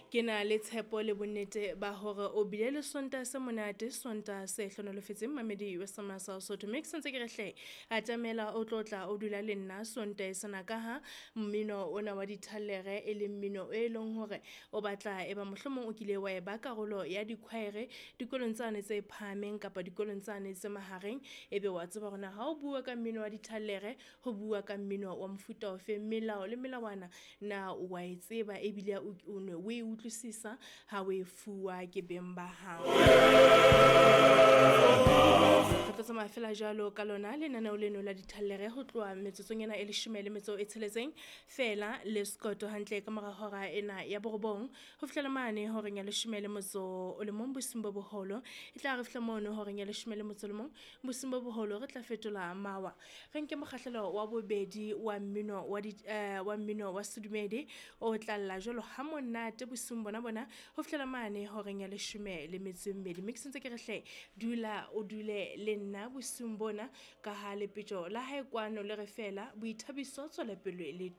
Ke na le tshepo le bonnete ba hore o bile le Sontaha se monate, Sontaha se hlonolofetseng mamedi wa Semasa Sotho. Mme ke sentse ke re hle, atamela o tlo tla o dula le nna Sontaha sena ka ha mmino ona wa dithallere e leng mmino e leng hore o batla e ba mohlomong o kile wa e ba karolo ya dikhwaere dikolong tsane tse phahameng kapa dikolong tsane tse mahareng. Ebe wa tseba hore na ha o bua ka mmino wa dithallere, ho bua ka mmino wa mofuta ofe, melao le melawana na wa e tseba ebile o ne o e utlwisisa ha o e fuwa ke beng ba hao. Re tlo tsamaya fela jwalo ka lona lenaneo leno la dithallere ho tloha metsotsong ena e leshome le metso e tsheletseng feela le sekoto hantle ka mora hora ena ya borobong ho fihlela mane horeng ya leshome le motso o le mong bosiung bo boholo. E tla re fihla mono horeng ya leshome le motso o le mong bosiung bo boholo re tla fetola mawa, re nke mokgahlelo wa bobedi wa mmino wa di wa mmino wa sedumedi o tla lla jwalo ha monate bosiung bona bona ho fihlela mane horeng ya leshome le metso e mmedi. Mme ke sentse ke re hle, dula o dule le nna bosiung bona ka ha lepetjo la hae kwano le re fela boithabiso, tswelopele le.